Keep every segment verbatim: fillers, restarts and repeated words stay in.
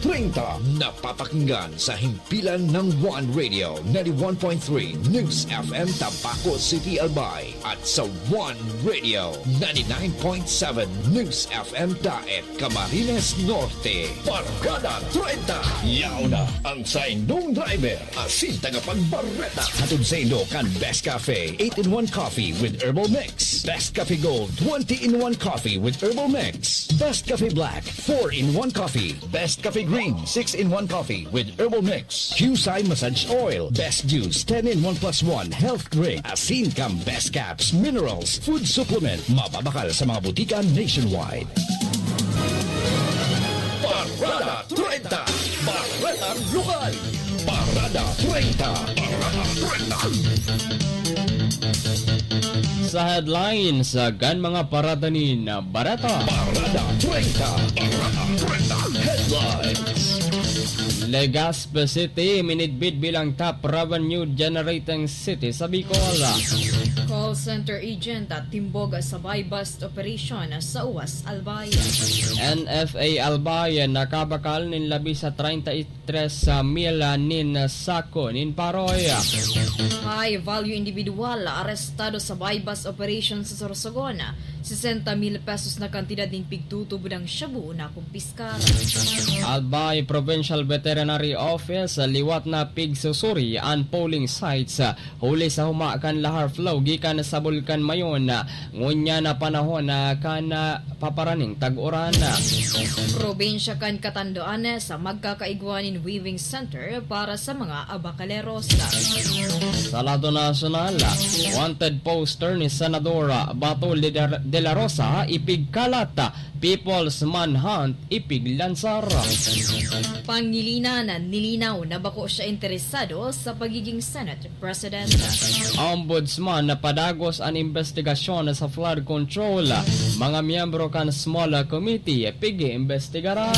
Treinta. Napapakinggan sa himpilan ng One Radio, ninety-one point three News F M Tabaco City, Albay, at sa One Radio, ninety-nine point seven News F M Daet, Camarines Norte. Parada treinta. Yaon na ang saindong driver, asin tagapagbareta. Hatod saindo kan Best Cafe, eight-in-one Coffee with Herbal Mix. Best Cafe Gold, twenty-in-one Coffee with Herbal Mix. Best Cafe Black, four-in-one Coffee. Best Cafe Green, six-in-one Coffee with Herbal Mix. Qcye Massage Oil, Best Juice, ten-in-one plus one Health Drink. Asin kan Best Caps, Minerals, Food Supplement. Mababakal sa mga butika nationwide. Parada treinta. Parada Lokal. Parada treinta. Parada treinta. Sa headlines, kan mga parada nin bareta. Parada treinta. Parada treinta. Headlines. Legazpi City minidbid bilang top revenue generating city sa Bicol. Call center agent at timbog sa buy-bust operation sa Uwas, Albay. N F A Albay nakabakal nin labi sa treinta y tres mil nin sako nin paroy. High value individual arestado sa buy-bust operation sa Sorsogon. Sesenta mil pesos na kantidad nin pigtutubodang shabu na kumpiskar. Albay Provincial Veterinary Office, liwat na pigsusuri an polling sites huli sa huma kan lahar flow gikan sa Bulkan Mayon. Ngunyan na panahon na kan, ah, paparaning tag-uran. Probinsya kan Catanduanes, magkakaigwa nin weaving center para sa mga abakaleros. Sa lado nasyonal, wanted poster ni Senador Bato de la Rosa ipigkalat, People's Manhunt ipiglansar. Pangilinan, nilinaw na bako siya interesado sa pagiging Senate President. Ombudsman napadagos an imbestigasyon sa flood control. Mga miyembro kan Small Committee pig-iimbestigaran.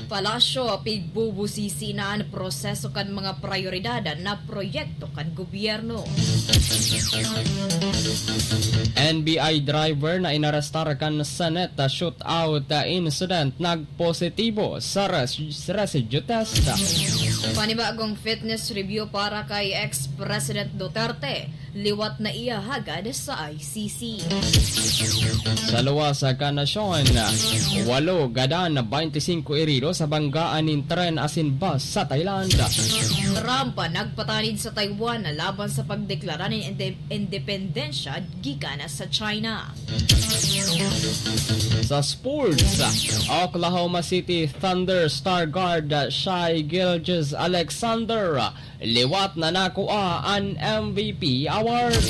Palasyo, pigbubusisi na an proseso kan mga prayoridad na proyekto kan gobyerno. N B I driver na inarestar kan Senate shootout incident nagpositibo sa res-, residue test. Panibagong fitness review para kay ex-President Duterte, liwat na iya hagad sa I C C. Sa luwas kan nasyon, walo gadan, baynte singko herido sa banggaan nin tren asin bus sa Thailand. Trump nagpatanid sa Taiwan laban sa pagdeklara nin inde-, independensya gikan sa China. Sa sports, Oklahoma City Thunder star guard Shai Gilgeous-Alexander liwat na nakua an M V P award.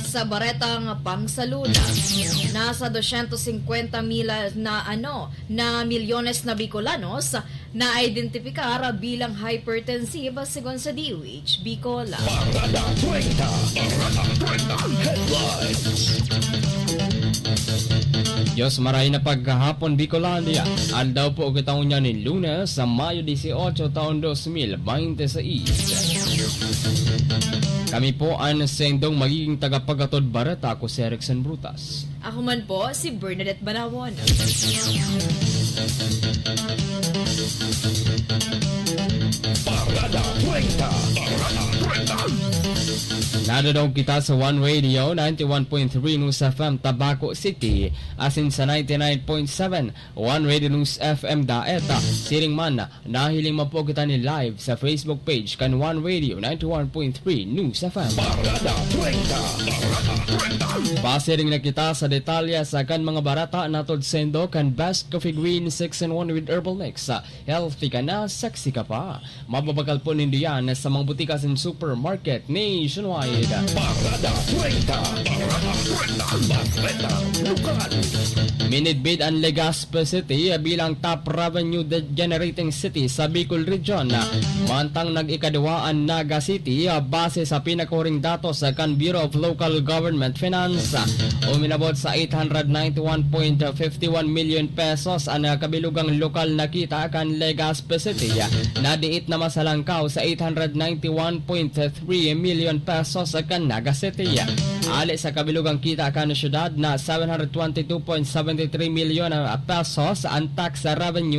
Sa baretang pangsalud, nasa dosyentos singkwenta mil na, ano, na milyones na Bicolanos na identipikar bilang hypertensive, segun sa D O H Bicol. Parada treinta. Parada treinta. Headlines. Diyos, maray na pagkahapon, Bicolandia. Aldaw po kita ngunyan nin Lunes, sa Mayo dieciocho, taon dos mil veintiseis. Kami po ang sendong magiging tagapaghatod bareta. Ako si Erickson Brutas. Ako man po, si Bernadette Banawon. Parada treinta. Parada treinta. Nadadangog kita sa One Radio, ninety-one point three News F M, Tabaco City, asin sa ninety-nine point seven One Radio News F M Daet. Siring man, nahiling man po kita ni live sa Facebook page kan One Radio ninety-one point three News F M. Parada treinta. Parada treinta. Pasiring na kita sa detalye sa kan mga bareta na hatod saindo kan Best Coffee Green six-in-one with Herbal Mix. Healthy ka na, sexy ka pa. Mababakal po nindo yan sa mga butika asin supermarket nationwide. Parada treinta. Parada treinta. Bareta Lokal. Minidbid an Legazpi City bilang top revenue de-, generating city sa Bicol Region. Mantang nag-ikaduwa an Naga City, base sa pinakahuring datos kan Bureau of Local Government Finance. Uminabot sa eight hundred ninety-one point fifty-one million pesos an kabilugang lokal na kita kan Legazpi City, na diit na masalangkaw sa eight hundred ninety-one point three million pesos kan Naga City. Ali sa kabilugang kita kan syudad na seven hundred twenty-two point seventy-three million pesos an tax revenue